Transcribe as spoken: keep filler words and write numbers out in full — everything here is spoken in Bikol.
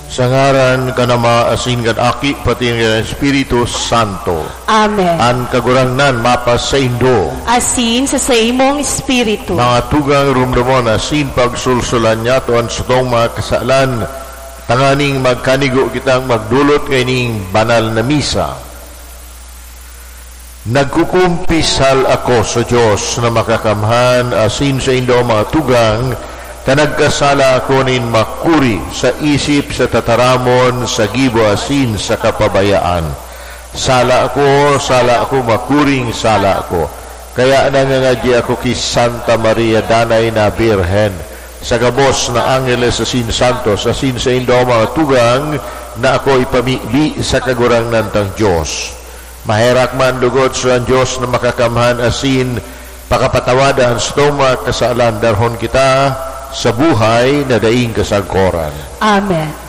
Sa ngaran kan Ama, asin kan Aki, pati kan Espiritu Santo. Amen. An Kagurangnan mapasaindo. Asin sa saimong espiritu. Mga tugang, rumdomon asin pagsulsulan niyato an satong mga kasalan, tanganing magkanigo kitang magdolot kaining banal na misa. Nagkukumpisal ako sa Dios na Makakamhan asin saindo, mga tugang, ta nagkasala ako nin makuri sa isip, sa tataramon, sa gibo asin sa kapabayaan. Sala ako, sala ako, makuring sala ako. Kaya nangangadyi ako ki Santa Maria, Danay na Birhen, sa gabos na angeles asin santos, asin saindo, mga tugang, na ako ipamibi sa Kagurangnan tang Dios. Maherak man lugod sa Dios na Makakamhan asin pakapatawada an satong mga kasalan, darhon kita sa buhay na daing kasagkoran. Amen.